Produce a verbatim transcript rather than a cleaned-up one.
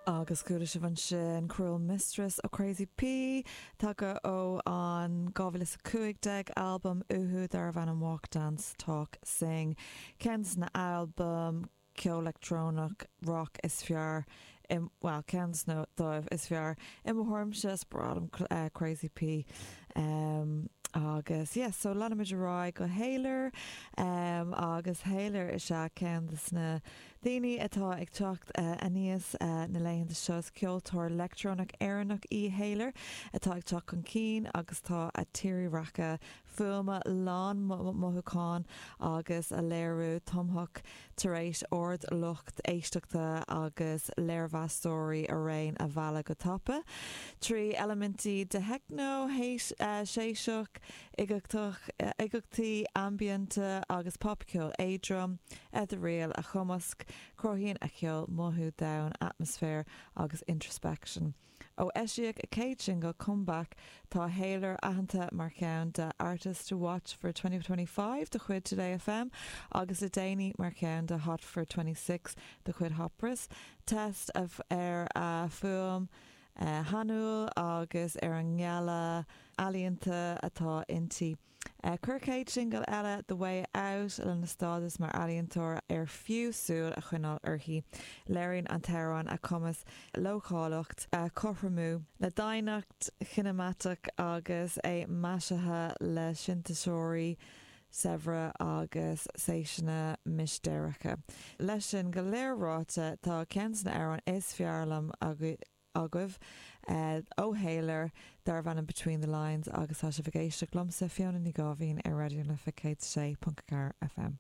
Agus chuala sibh ansin Cruel Mistress ó Crazy P tagtha ó an dhá mhíle a cúig déag albam uathu darbh ainm Walk Dance Talk Sing ceann de na albaim ceol leictreonach rock is fearr well ceann dóibh is fearr i mo thuairimse is breá liom uh, Crazy P. Um, agus yes, so leanfaimid ar aghaidh go Hayler um, agus Hayler is ea ceann de na daoine atá ag teacht uh, aníos uh, na laethanta seo ceoltóir leictreonach Éireannach í Hayler atá ag teacht chun cinn agus tá a tírdhreacha fuaime lán mothúchán agus a léiriú tumthach tar éis aird lucht éisteachta agus léirmheastóirí araon a mhealladh go tapa. Trí eilimintí de techno uh, séiseach uigeachtaí ambient agus popcheol éadrom ethereal a chumasc cruthaíonn a ceol mothú domhain atmaisféar agus introspection. Ó eisíodh a céad single comeback tá Hayler aitheanta mar cheann de Artist to Watch for twenty twenty-five de chuid Today F M agus le déanaí mar cheann de Hot for twenty-six de chuid Hot Press. Test of ar a fuaim uh, shainiúil agus ar an ngealladh ealaíonta atá inti. Uh, Chuir céad single eile The Way Out lena stádas mar ealaíontóir ar fiú súil a choinneáil uirthi. Léiríonn an t-amhrán a cumas leochaileacht a chothromú le doimhneacht chineamatach agus é maisithe le sintéiseoirí saibhre agus séiseanna mistéireacha. Leis sin go léir ráite tá ceann de na hamhráin is fearr liom agaibh uh, ó Hayler darbh ainm Between the Lines agus tá sibh ag éisteacht liomsa Fiona Ní Gáibhín ar Raidió na Life céad sé ponc ceathair F M.